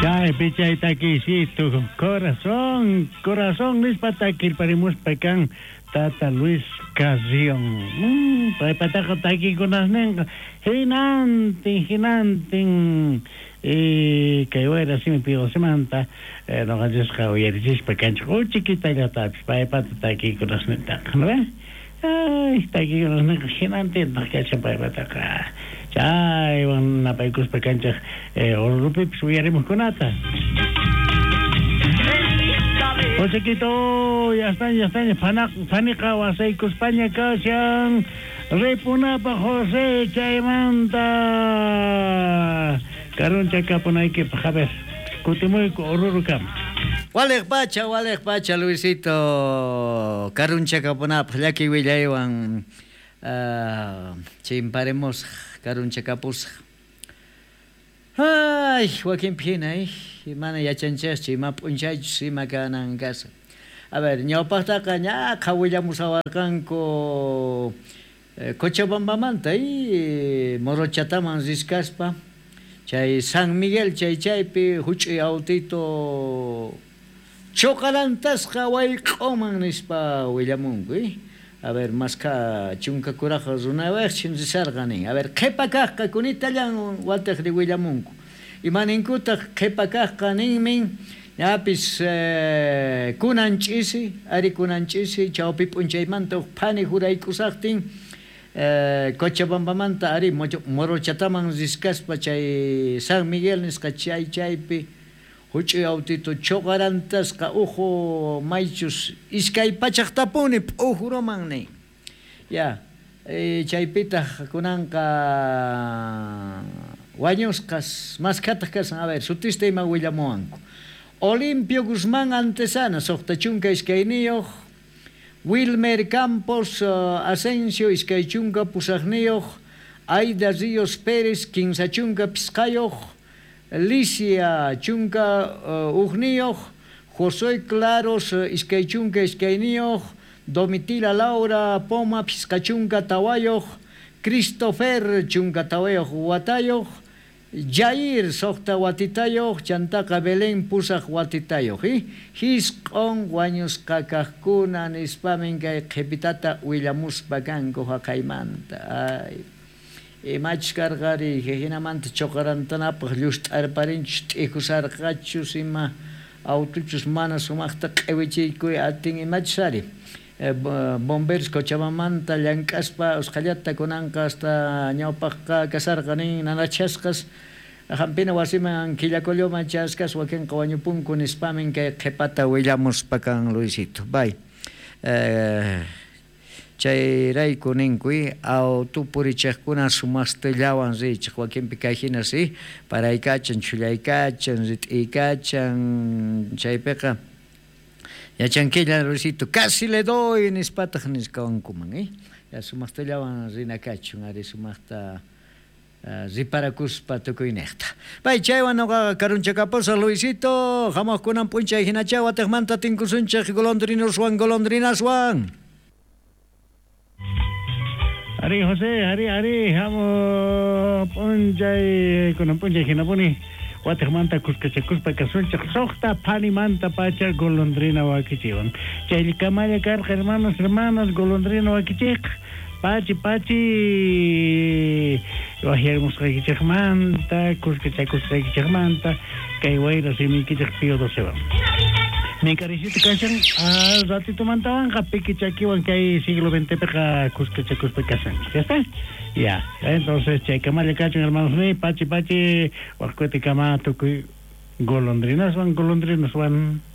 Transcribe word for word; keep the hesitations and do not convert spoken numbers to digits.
Chaypi chay takiysitu corazón, corazón nispa takirparimuspa kan Tata Luis Carrión. Mm, paypataqa takiykunasninqa hinantin hinantin eh, kay wayra simi piqosimanta eh, noqanchisqa uyarichispa kanchik uchikitallatapis paypata takiykunasnintaqa, ¿no ve? Ay, takiykunasninqa hinantintaq kachan paypataqa. Chaywan napaykuspa kanchik eh, Orurupipis uyarimuqkunata. Josequito, ya están, ya están, phaniqa wasaykuspaña kashan ripunapaq José chaymanta karunchakapunaykipaq, a ver, kutimuyku Orurukama. Waliq pacha, waliq pacha, Luisito, karunchakapunapaq llakiy willaywan uh, chimparemos karunchakapusaq. Ay, wakinpi hina, eh, mana yachanchikchu ima p'unchaychus ima kanan kasqa. A ver, ñawpaqtaqa ñaqha willamusawarqanku eh, Cochabambamanta y Morochataman riskaspa chay San Miguel chay chaypi huch'uy autito choqarantasqa wayq'uman nispa willamunku, eh. A ver, maskha chunka kuraq runawaqchin risarqa nin. A ver, qhipa kaqqa kunitallan watiqri willamunku. Imaninkutaq qhipa kaqqa ninmin ñapis eh, kunan ch'isi, ari kunan ch'isi, chawpi p'unchaymanta huk phani juraykusaqtin eh, Cochabambamanta ari Morochataman riskaspa chay San Miguel nisqa chay chaypi huch'uy autito choqarantasqa uhu maychus iskay pachaqtapuni p'ujuruman nin. Ya, eh, chaypitaq kunanqa wañusqas maskhataq kasan, a ver, sutista ima willamuwanku. Olimpio Guzmán Antesana, suqta chunka iskayniyuq, Wilmer Campos uh, Asensio iskay chunka pusaqniyuq, Aida Ríos Pérez kinsa chunka pisqayuq, Licia chunka uh, ujniyuq, José Claros uh, iskay chunka iskayniyuq, Domitila Laura Poma pisqa chunka tawayuq, Christopher chunka tawayuq watayuq, Jair suqta watitayuq, chantaqa Belén pusaq watitayuq, eh? Hisq'un wañusqa kaqkuna nispamin kay qhipitata willamuspa kanku haqaymanta. Ay, imachus karqari hinamanta choqarantanapaq llust'arparinchus t'ikusarqachus ima autuchus mana sumaqta q'iwichiykuy atin imachus ari. Eh, bomberos Cochabambamanta llank'aspa usqhallata kunanqa hasta ñawpaqqa kasarqa nin nanachasqas hampina wasiman Quillacolloman chaskas wakinqa wañupunku nispamin kay qhipata willamuspa kan Luisito. Bay. Eh, chayrayku ninkuy autu purichiqkuna sumastillawan richiq wakinpi kay hina si paraykachan chhullaykachan rit'iykachan chaypiqa yachankilla Luisito casi le doy nispataq nisqankuman, eh? Ya sumaqtallawan rinakachun ari sumaqta uh, riparakuspa tukuyniqta. Pay chaywan nuqaqa karunchakapusa Luisito, hamuqkunan p'unchay hinacha watiqmanta tinkusunchik golondrinoswan golondrinaswan. Ari José, ari ari, hamu p'unchay kunan p'unchay hinapuni watiqmanta kuskachakuspa kasunchik suqta phanimanta pacha golondrina wakichiwan. Chaykamalla karqa hermanos, hermanas, golondrina wakichiq. Pachi, pachi, wajyarimusqaykichikmanta, kuskachakusqaykichikmanta, kay wayra simiykichik Pío Docewan. Minkarisito kashan, al ratito mantawanqa piki chakiwan kay siglo veinte piqa kuskachakuspa kasanchik. ¿Ya está? Ya, entonces chaykamalla kachun hermanos ni pachi pachi waqkuti kama tukuy golondrinaswan golondrinaswan.